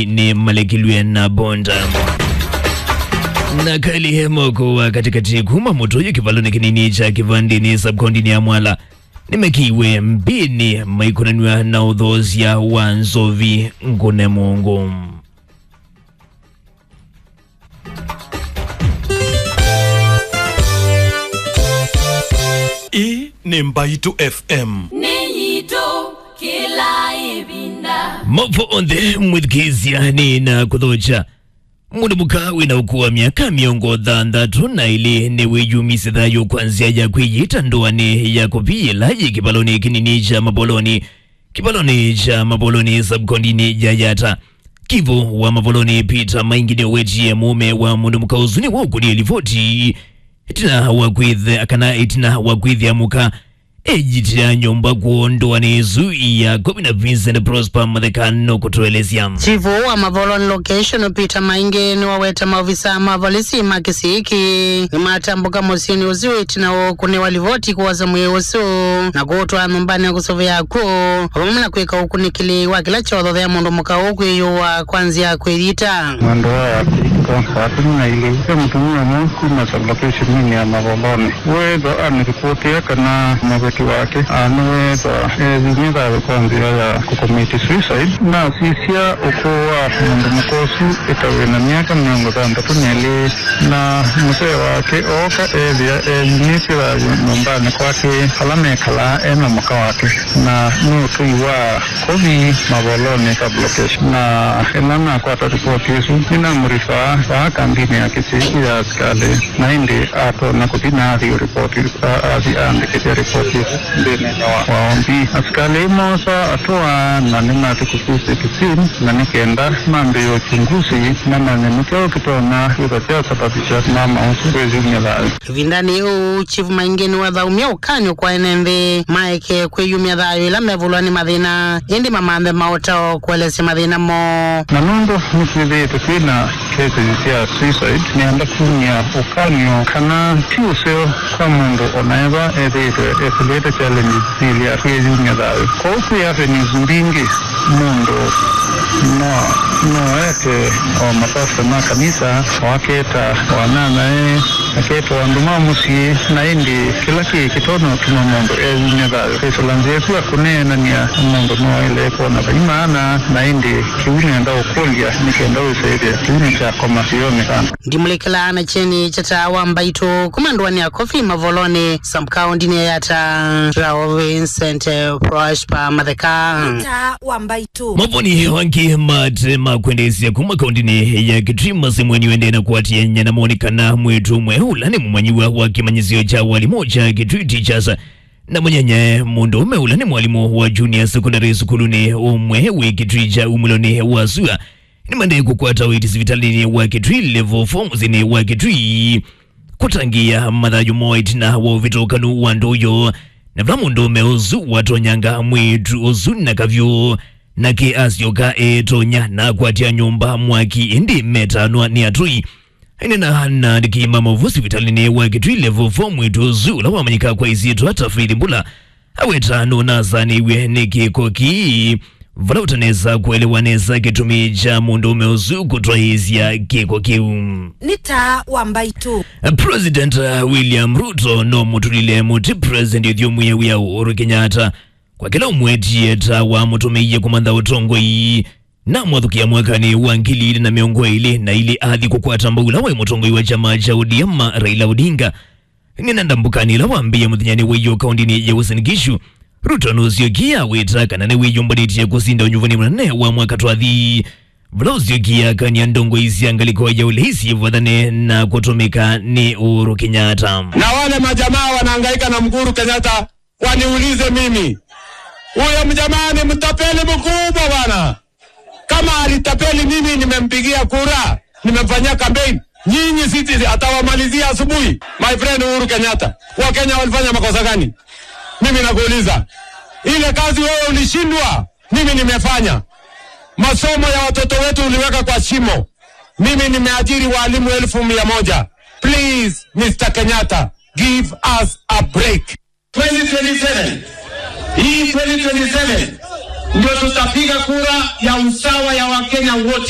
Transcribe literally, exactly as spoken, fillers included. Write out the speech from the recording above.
nĩ malekilw'e na bonda. Na Kali Moko wa Katikati kuma Mũtũyũ kĩvalonĩ kĩnini kya Kĩvandĩnĩ sub-kaũntĩnĩ ya Mwala nĩmekiwe mbĩnĩ maikonanw'a na ũthoosya wa nzovi ngũne mũngũ. Ĩĩ nĩ Mbaitũ F M. Nĩ yitũ kĩla ĩvinda. Mavo onthe mwĩthukĩĩsya nĩ na kũthokya. Mũndũ mũka wĩ na ũkũũ wa myaka mĩongo thanthatũ na ĩlĩ nĩwĩyumisye thayũ kwa nzĩa ya kwĩyĩta ndoanĩ ya kũvi yĩla yĩ kĩvalonĩ kĩnini kya Mavolonĩ, kĩvalonĩ kya Mavolonĩ sub-kaũntĩnĩ ya Yatta. Kivu wa Mavolonĩ Peter Maingi nĩũwetie mũũme wa mũndũ mũka ũsu nĩwaũkũnie livoti ĩtina wa kwĩthĩa, kana ĩtina wa kwĩthĩa mũka eyĩtĩa nyũmba kwoo ndoanĩ ĩsu ya Kũvi na Vincent Prosper Matheka nũkũtũelesya. Chief wa Mavolonĩ location Peter Maingi nĩwaweta maovisa ma volisi ma kĩsii kĩĩ nĩmatambũka mũsyĩnĩ ũsu ĩtina wa kũnengwa livoti kwosa mwĩĩ ũsu na kũũtwaa nyũmbanĩ ya kũsũvĩa akw'ũ, o vamwe na kwĩka ũkunĩkĩli wa kĩla kyothe ya mũndũ mũka ũũ kwĩyũa kwa nzĩa ya kwĩyĩta. Mwendwa wa Kristo, saa kũmi na ilĩ, ve mũtumĩa ũmwe kuma sub-location-inĩ ya Mavolonĩ weethwa anĩlipotĩa kana mũveti wake anĩweethwa eeyumya thayũ kwa nzĩa ya kũkomiti suicide. Nasisya ũkũũ wa mũndũ mũka ũsu ĩta wĩ na myaka mĩongo thanthatũ na ĩlĩ, na mũsee wake ooka eethĩa eyumĩtye thayũ nyũmbanĩ kwake vala mekalaa e na mũka wake, na nĩ ũtũi wa Kũvi Mavolonĩ sub-location. Na ĩla nakwata ripoti ĩsu, nĩnamũrifaa vaa kambinĩ ya kĩsii ya asikalĩ, na ĩndĩ atonya kũthi na athi ripoti, a-, athi aandĩkĩthya ripoti ĩsu nthĩnĩ wa, wa O B. Asikalĩ moosa atũa na nĩmathi kũsisya kĩsii, na nĩ kenda mambĩĩe uchunguzi mamanye nĩ kyaũ kĩtonya kwĩthwa kyasababisha mama ũsu kwĩyumya thayũ. Ĩvindanĩ yĩu, Chief Maingi nĩwathaũmya ũkany'o kwa ene nthĩ maeke kwĩyumya thayũ ĩla mevulwa nĩ mathĩna, ĩndĩ mamanthe maũtao kũelesya mathĩna moo. Na nũndũ nĩtwĩthĩĩtwe twĩ na cases sya suicide, nĩenda kumya ũkany'o kana ti ũseo kwa mũndũ o na ethwa ethĩĩtwe esĩlĩte challenges syĩlĩ ya kwĩyumya thayũ. Kwoou kwĩ avenues mbingĩ mũndũ no, no ete o mapasta ma kanisa, o aketa o anyanyae, aketa o andũ ma mũsyĩ, na ĩndĩ kĩla kĩĩ kĩtonya ũtuma mũndũ eyumya thayũ. Kwĩsĩla nzĩa ĩsu ya kũneenany'a mũndũ no aĩle kwona vai maana, na ĩndĩ kĩu nĩenda ũkũlya nĩ kenda wĩsĩ ĩthĩa kĩu nĩkyakoma sĩonekana. Ndimũlĩkĩlaa na kyeni kya Taa wa Mbaitũ kuma ndũanĩ ya Kũvi Mavolonĩ, sub-kaũntĩnĩ ya Yatta, Rao Vincent Prosper Matheka. Taa wa Mbaitũ. Mavoni angĩ mate ma kwendeesya kuma kaũntĩnĩ ya Kitui masemw'e nĩwendee na kũatĩanĩa na moni kana mwĩĩtu ũmwe ũla nĩ mũmanyĩw'a wa kĩmanyĩsyo kya walimũ kya Kitui Teachers na mũnyanyae mũndũũme ũla nĩ mwalimũ wa junior secondary sukulunĩ ũmwe wĩ Kitui kya umĩlonĩ wa sua nĩmaendee kũkwata ũiiti sivitalĩnĩ wa Kitui Level four mũsyĩnĩ wa Kitui kũtangĩĩa mathayũ moo ĩtina wa ũvĩtũkanu wa ndũũ yoo, na vala mũndũũme ũsu watonyanga mwĩĩtu ũsu na kavyũ, nake asyoka eetonya na akwatya nyũmba mwaki, ĩndĩ metanwa nĩ atũi. Aineena na andĩki ma maũvoo sivitalĩnĩ wa Kitui Level four, mwĩĩtu ũsu ũla wamanyĩka kwa ĩsyĩtwa ta Faith Mbula aweta nũnasaanĩw'e nĩ kĩko kĩĩ, vala ũtanesa kũelewa nesa kĩtumi kya mũndũũme ũsu kũtwaĩĩsya kĩko kĩu. Nĩ Taa wa Mbaitũ. President William Ruto no mũtũlile mũtĩ President ũthyũmũĩe wĩa Uhuru Kenyatta kwa kĩla ũmwetie ta wamũtũmĩie kũmantha ũtongoi. Namwathũkĩa mwakanĩ wa ngili ilĩ na mĩongo ĩlĩ na ilĩ athi kũkwata mbau ũla waĩ mũtongoi wa kyama kya O D M Raila Odinga. Nĩna ndambũkanĩ ĩla wambĩĩe mũthenyanĩ wa ĩyoo kaũntĩnĩ ya Uasin Gishu, Ruto nũsyokie awĩta kana nĩwĩyũmbanĩtye kũsinda ũnyuvani mũnene wa mwaka twathi, vala ũsyokie akany'a ndongoi sya ngalĩko ya ũlei syĩvathane na kũtũmĩka nĩ Uhuru Kenyatta. Na wale majamaa wanahangaika na Uhuru Kenyatta, waniulize mimi. Huyo mjamaa ni mtapeli mkubwa bwana. Kama alitapeli mimi, nimempigia kura, nimemfanyia campaign. Nyinyi sisi atawamalizia asubuhi. My friend Uhuru Kenyatta, Wakenya walifanya makosa gani? Mimi nakuuliza. Ile kazi wewe ulishindwa, mimi nimefanya. Masomo ya watoto wetu uliweka kwa shimo. Mimi nimeajiri walimu elfu mia moja. Please, Mister Kenyatta, give us a break. Twenty twenty-seven. Hii twenty twenty-seven, Ndio tutapiga kura ya usawa ya Wakenya wote.